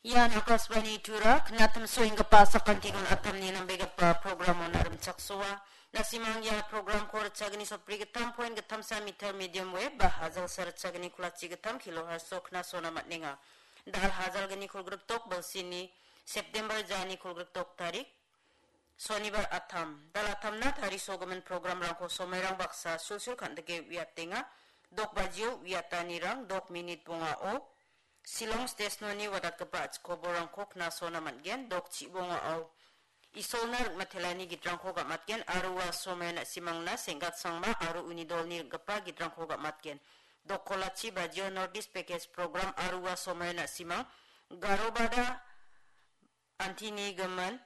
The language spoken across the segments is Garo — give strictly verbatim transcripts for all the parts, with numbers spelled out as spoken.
Ian Akashvani Tura, knatim soenggipa sakantikon atamni nambegipa programon arimchaksoa. Nasimang ia programko ritchagni sotbri gittam point gittamsa meter medium wave ba hajalsa ritchagni kolachi gittam kilohertz-o knasona man·enga. Dal hajalgni kolgrikdok bilsini September jani kolgrikdok tarik, Sonibar atam. Dal atamna tarisogimin programrangko somairang baksa sulsul kan·dike uiatenga. Dok bajio uiatanirang dok minit bongao Shillong stesnoni wadatgipa a·chik koborrangko knasona man·gen. Dok chibongao Isolna ring·matelani gitrangko gam·atgen aro ua somaio na·simangna Senggatsangma aro uni dolni ring·gipa gitrangko gam·atgen. Dok kolachi bajio North East Package Program aro ua somaio na·simang Garobada antini gimin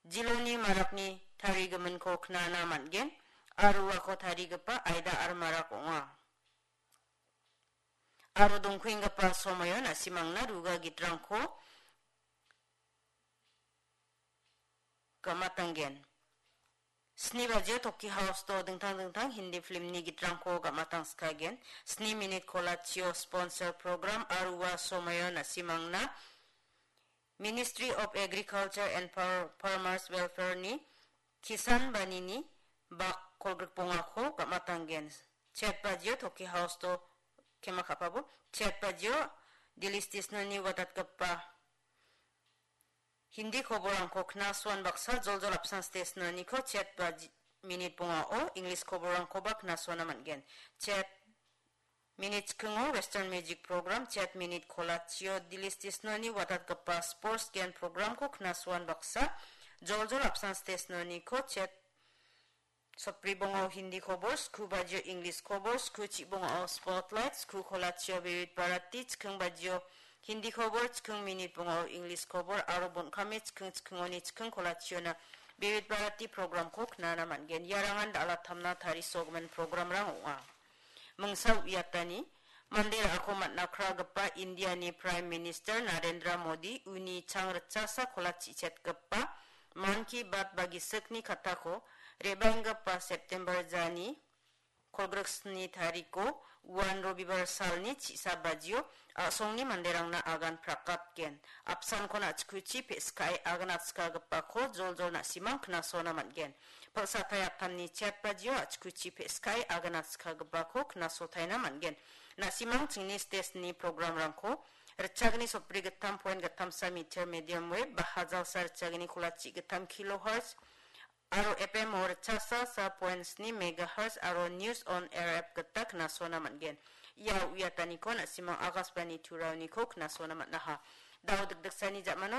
Jiloni marakni tarigiminko knana man·gen aro uako tarigipa Aida R. Marak ong·a. Aro dongkuenggipa somaio na·simangna ruga gitrangko gam·atanggen. Sni bajio Toki House-o dingtang dingtang Hindi filmni gitrangko gam·atangskagen. Sni minit kolachio sponsor program aro ua somaio na·simangna Ministry of Agriculture and Far-, Farmers Welfare-ni Kisan Banini bak kolgrikbongako gam·atanggen. Chet bajio Toki House-o kema ka·pabo. Chet bajio Delhi stesnoni wadatgipa Hindi koborrangko knasuan baksa joljol apsan stesnoniko chet baji minit bongao English koborrangkoba knasuana man·gen. Chet minit chikingo Western Music Program, chet minit kolachio Delhi stesnoni wadatgipa Sports Gen Programko knasuan baksa joljol apsan stesnoniko chet sotbri bongao Hindi kobor, sku bajio English kobor, sku chibongao Spotlight, sku kolachio Vividh Bharati, chiking bajio Hindi kobor, chiking minit bongao English kobor, aro bon·kame chiking chikingoni chiking kolachiona Vividh Bharati programko knana man·gen. Iarangan dal·atamna tarisogimin programrang ong·a. Mingsa uiatani, mande ra·ako man·akragipa Indiani Prime Minister Narendra Modi uni chang ritchasa kolachichetgipa Mann Ki Baat ba gisikni katako re·baenggipa September jani kolgriksni tariko uan Robibar salni chisa bajio a·songni manderangna agan prakatgen. Apsankon a·chikuchi pe·skae agan atskagipako joljol na·simang knasona man·gen. Pal·satai atamni chet bajio a·chikuchi pe·skae agan atskagipako knasotaina man·gen. Na·simang chingni stesni programrangko ritchagni sotbri gittam point gittamsa meter medium wave ba hajalsa ritchagni kolachi gittam kilohertz aro F M o ritchasa sa point sni megahertz aro News on Air app gita knasona man·gen. Ia uiataniko na·simang Akashvani Turaoniko knasona man·aha. Dao dikdiksani ja·mano